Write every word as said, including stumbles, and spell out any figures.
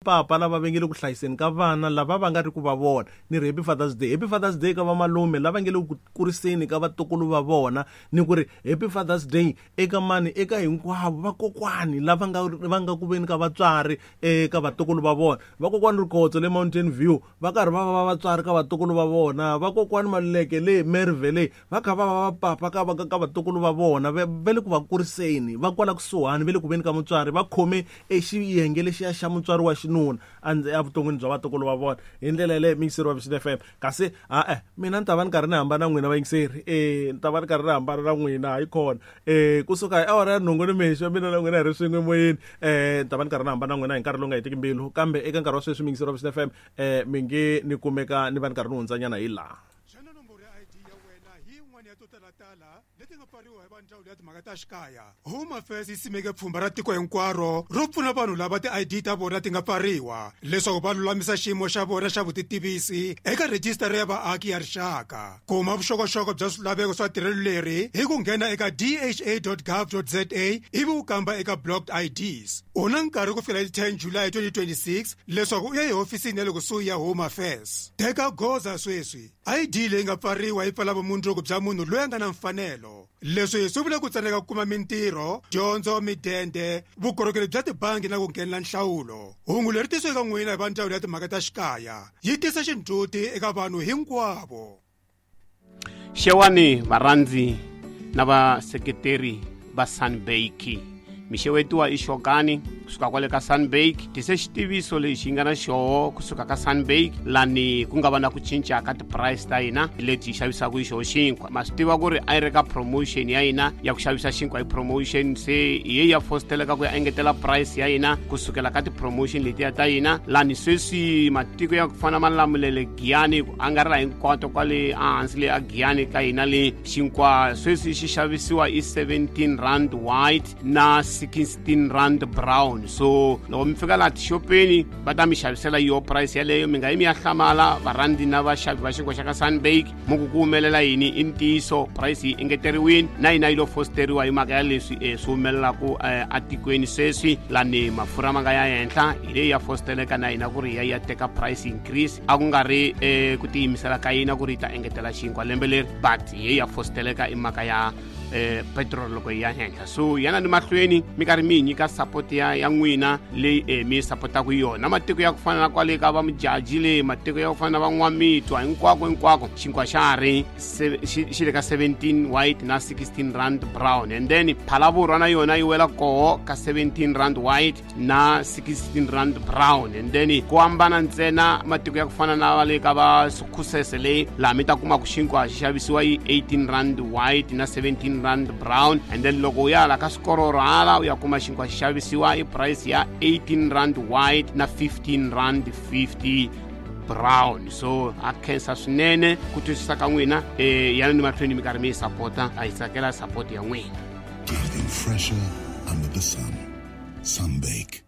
Papa lava va nge le ku hlayiseni ka vana lava va nga ri ku va vona ni ri happy Father's Day, happy Father's Day ka vamalume lava nge le ku kuriseni ka vatukulu va vona, ni ku ri happy Father's Day eka mani, eka hinkwavo vakokwani lava nga va nga ku veni ka vatswari eka vatukulu va vona. Vakokwani Rikhotso le Mountain View va karhi va va vatswari ka vatukulu va vona, vakokwani Maluleke le Merve le va kha va va vapapa ka va ka vatukulu va vona, va le ku va kuriseni, va kwala kusuhani va le ku veni ka mutswari, va khome e xiyenge lexiya xa mutswari wa xinuna evuton'wini bya vatukulu va vona. Hi ndlela yaleyo muyingiseri wa Vision F M, kasi a-e mina ni ta va ni karhi ni hambana na n'wina vayingiseri, e ni ta va ni karhi ni hambana na n'wina hayi kona e kusuka hi awara ya nhungu nimixo mina na n'wina hi ri swin'we emoyeni, e ni ta va ni karhi ni hambana na n'wina hi nkarhi lowu nga hetiki mbilu. Kambe eka nkarhi wa sweswi muyingiseri wa Vision F M e mi nge ni kumeka ni va ni karhi ni hundzanyana hi laha. Xana nomboro ya I D ya wena hi yin'wana ya to talatala leti nga pfariwa hi va ndzawulo ya timhaka ta xikaya? Home Affairs yi simeke pfhumba ra tiko hinkwaro ro pfuna vanhu lava ti-I D ta vona ti nga pfariwa leswaku va lulamisa xiyimo xa vona xa vutitivisi eka rhejisitara ya vaaki ya rixaka. Kuma vuxokoxoko bya swilaveko swa tirhelo leri hi ku nghena eka d h a dot gov dot z a ivi u kamba eka blocked I Ds. U na nkarhi ku fikela hi ten July twenty twenty-six leswaku u ya ehofisini ya le kusuhi ya Home Affairs. Teka goza sweswi. I D leyi nga pfariwa yi pfala vumundzuku bya munhu loyi a nga na mfanelo. Leswi swi vula ku tsandzeka ku kuma mintirho, dyondzo, midende, vukorhokeri bya tibangi na ku nghenela nhlawulo. Hungu leri tisiweke eka n'wina hi va ndzawulo ya timhaka ta xikaya yi tisa xindzhuti eka vanhu hinkwavo. Xewani varhandzi na vaseketeri va Sunbake. Mixewetiwa i Xokani kusuka kwale ka Sunbake. Tise xitiviso lexi nga na xoho kusuka ka Sunbake lani ku nga va na ku cinca ka ti-price ta hina leti hi xavisaka hi xoho xinkwa. Ma swi tiva ku ri a yi ri ka promotion ya hina ya ku xavisa xinkwa hi promotion, se hi ye ya fosteleka ku ya engetela price ya hina kusukela ka ti-promotion letiya ta hina. Lani sweswi matiko ya ku fana Malamulele, Giyani, ku angarhela hinkwato kwale ehansi le a Giyani ka hina le xinkwa sweswi xi xavisiwa i seventeen rand white na sixteen rand brown. So loko mi fika laha tixopeni va ta mi xavisela yo price yaleyo, mi nga yi mi ya hlamala varhandzi na vaxavi va xinkwa xa ka Sunbake mu ku ku humelela yini. I ntiyiso price yi engeteriwile na hina yi lo fosteriwa hi mhaka ya leswi e swi humelelaku atikweni sweswi lani mafurha ma nga ya henhla, hi leyi ya fosteleka na hina ku ri ya ya teka price increase. A ku nga ri eh, ku tiyimisela ka hina ku ri yi ta engetela xinkwa lembe leri, but hi ya fosteleka i mhaka ya eh petrol loko yi ya henhla. So yana ni mahlweni mi karhi mi hi nyika support ya ya n'wina leyi eh, mi supportaka yona. Matiko ya ku fana na kwale ka va Mujaji le, matiko ya ku fana na van'wamitwa, hinkwako hinkwako xinkwa xa ha ri xi le ka seventeen white na sixteen rand brown. And then Phalavurwa na yona yi wela koho ka seventeen rand white na sixteen rand brown. And then ku hambana ntsena matiko ya ku fana na va le ka va Sukhusese leyi laha mi ta kuma ku xinkwa xi xavisiwa hi eighteen rand white na seventeen rand brown. And then loko u ya la ka swikororo hala u ya kuma xinkwa xi xavisiwa hi price ya eighteen rand white na fifteen rand fifty brown. So a khensa swinene ku twisisa ka n'wina, eh yana ni mahlweni mi karhi mi yi sapota, a hi tsakela support ya n'wina. Getting fresher under the sun. Sunbake.